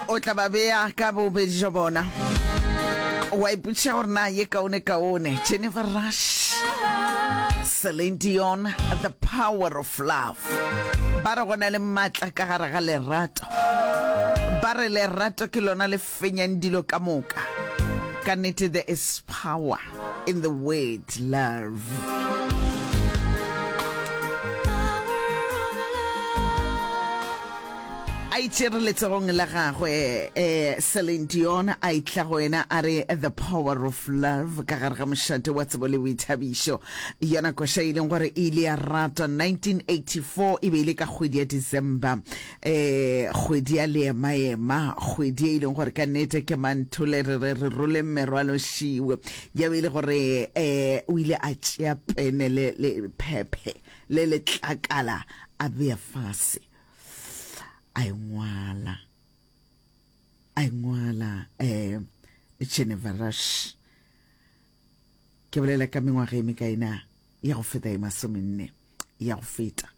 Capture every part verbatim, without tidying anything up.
O tla ba bea ka bobedi jwa bona. Wa ipotšiša gore na ye kaone kaone. Jennifer Rush, Celine Dion, The Power of Love. Ba re go na le maatla ka gare ga lerato. Ba re lerato ke lona le fenyang dilo ka moka. Ka nnete there is power in the word love. A itšere letsogong la gagwe eh, Celine Dion a itla go yena a re The Power of Love ka gare ga mošate wa tsebo le boithabišo. Yona koša e leng gore e ile ya ratwa nineteen eighty-four e be e le ka kgwedi ya December, eh, kgwedi ya leemaema, kgwedi e leng gore ka nnete ke manthole re re re roleng merwalo šiwe. Ya be e le gore eh, o ile a tšea pene le, le phephe le letlakala a bea fase. A engwala, a engwala eh Geneva Rush. Ke bolela ka mengwaga e mekae na ya go feta e masomenne ya go feta.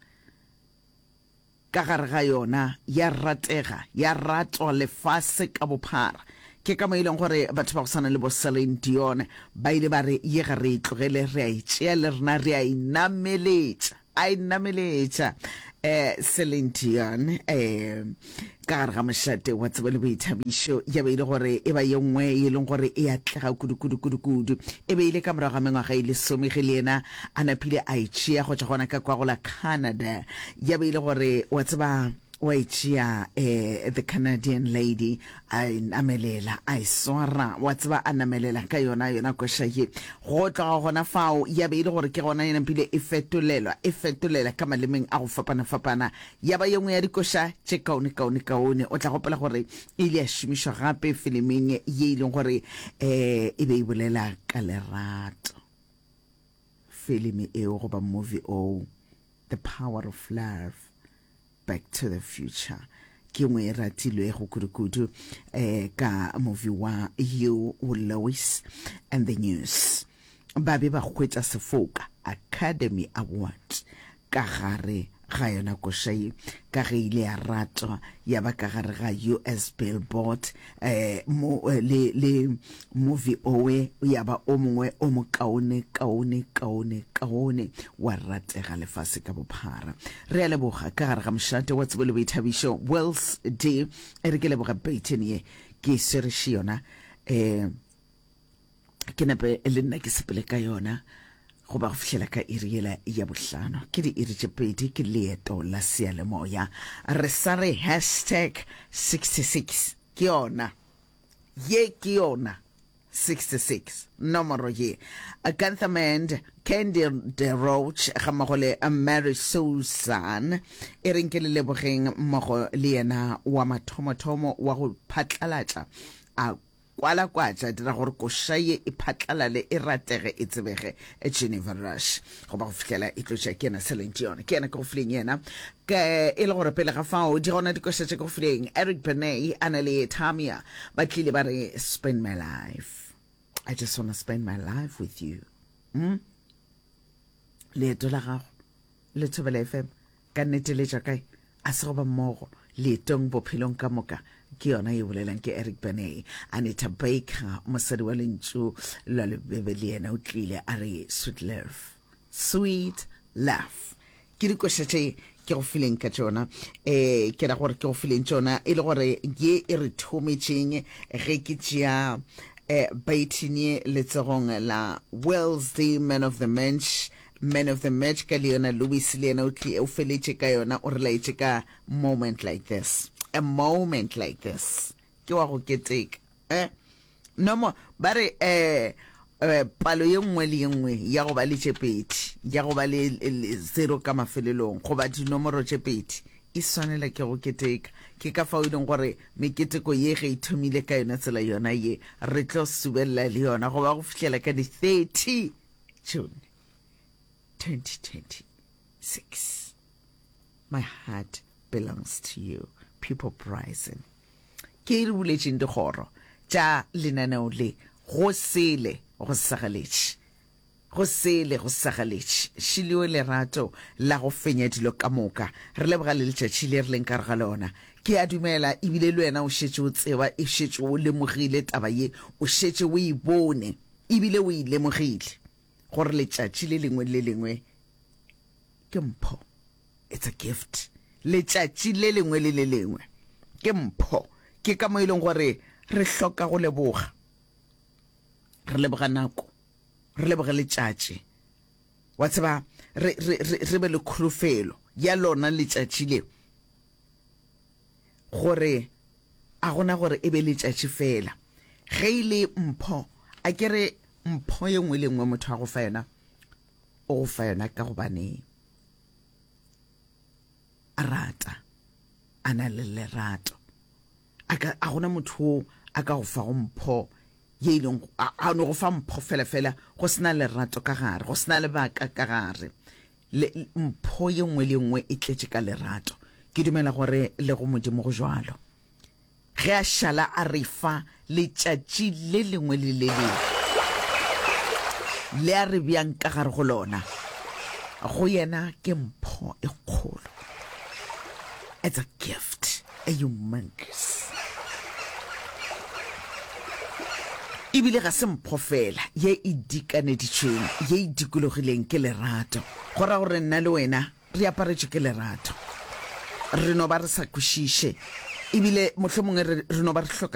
Ka gare ga yona ya ratega, ya ratwa lefase ka bophara. Ke ka mo e leng gore batho ba go swana le bo Celine Dion ba ile ba re ye ga re e tlogele, re a e tšea le rena re a e nameletša. A e nameletša eh Celine Dion eh ka gare ga mošate wa tsebo le boithabišo. Ya be e le gore e ba ye nngwe e leng gore e atlega kudu kudu kudu kudu. E be e le ka morago ga mengwaga e lesome ge le yena a napile a e tšea go tšwa gona ka kwa go la Canada. Ya be e le gore wa tseba wa e tšea eh the Canadian lady a e namelela, a e swara, wa tseba a namelela ka yona yona koša ye. Go tloga gona fao ya be e le gore ke gona e napile e fetolelwa, e fetolela ka malemeng a go fapana-fapana. Ya ba ye nngwe ya dikoša tše kaone kaone kaone. O tla gopola gore e ile ya šomišwa gape filiming ye e leng gore eh e be e bolela ka lerato. Filimi eo goba movie o, The Power of Love, Back to the Future, ke nngwe e ratilwego kudu-kudu eh ka movie wa Huey Lewis and the News. Ba be ba hwetša sefoka Academy Award ka gare ga yona koša ye, ka ge ile ya ratwa ya ba ka gare ga U S Billboard eh mo le le movie owe ya ba o mongwe o mokaone kaone kaone kaone wa ratega lefase ka bophara. Re a leboga ka gare ga mošate wa tsebo le boithabišo Wells D. E re ke leboga Baton ye ke e swereše yona eh ke nepe le nna ke sepele ka yona goba go fihlela ka iri yela ya bohlano. Ke diiri tše pedi, ke leeto la seyalemoya. Re sa re hashtag sixty-six ke yona ye, ke yona sixty-six nomoro ye. Gunther Mand, Candy DeRoche ga mmogo le Mary Susan, e reng ke le lebogeng mmogo le yena wa mathomothomo wa go phatlalatša a kwalakwatša dira gore koša ye e phatlalale, e ratege, e tsebege, Geneva Rush, goba go fihlela e tlotša ke yena Celine Dion. Ke yena ke go fileng yena ke e le gore pele ga fao di gona dikoša tše ke go fileng. Eric Benet a na le Tamia ba tlile ba re spend my life, I just wanna spend my life with you. Mm? Leeto la gago le Thobela F M ka nnete le tšwa kae? A se go ba mmogo leetong bophelong ka moka. Ke yona e bolelang ke Eric Benet. Anita Baker, mosadi wa lentšu la lebebe, le yena o tlile a re sweet love, sweet love. Ke dikoša tše ke go fileng ka tšona, eh ke ra gore ke go fileng tšona e le gore ye e re thometšeng ge ke tšea eh Baton letsogong la Wells D, man of the match, man of the match ka le yona Louis le yena o tli o feletše ka yona, o re laetše ka moment like this, a moment like this ke wa go keteka eh no mo ba re eh eh palo ye nngwe le ye nngwe ya go ba le tše pedi, ya go ba le, le zero ka mafelelong goba dinomoro tše pedi e swanela ke go keteka. Ke ka fao e leng gore meketeko ye ge e thomile ka yona tsela yona ye re tlo subelela le yona goba go fihlela ka di thirty June twenty twenty-six. My heart belongs to you, People Bryson. Ke re buletšeng dikgoro tša lenaneo le go sele go sagaletše, go sele go sagaletše. Šileo lerato la go fenya dilo ka moka. Re leboga le letšatši le re leng ka re ga lona. Ke a dumela ebile le wena o šetše o tseba, e šetše o lemogile taba ye, o šetše o e bone ebile o e lemogile gore letšatši le lengwe le le lengwe ke mpho. It's a gift. Letšatši le lengwe le le lengwe ke mpho. Ke ka mo e leng gore re hloka go leboga. Re leboga nako, re leboge letšatši. Wa tseba, re, re, re, re be le kholofelo ya lona letšatši le, gore a gona gore e be letšatši fela. Ge e le mpho, a ke re mpho ye nngwe le nngwe motho a go fa yona, o go fa yona ka gobane a rata, a na le lerato. A ka, a gona motho o a ka go fago mpho ye e leng, a, a no go fa mpho fela fela go se na lerato ka gare, go se na lebaka ka gare. Le, mpho ye nngwe le ye nngwe e tletše ka lerato. Ke dumela gore le go Modimo go jwalo. Ge a šala a re fa letšatši le lengwe le le lengwe le a re bjang ka gare go lona, go yena ke mpho e kgolo. It's a gift, a humongous. Ebile ga se mpho fela ye e dikaneditšweng, ye e dikologileng ke lerato. Go ra gore nna le wena re aparetšwe ke lerato. Re no ba re sa kwešiše, ebile mohlomongwe re, re no ba re hloka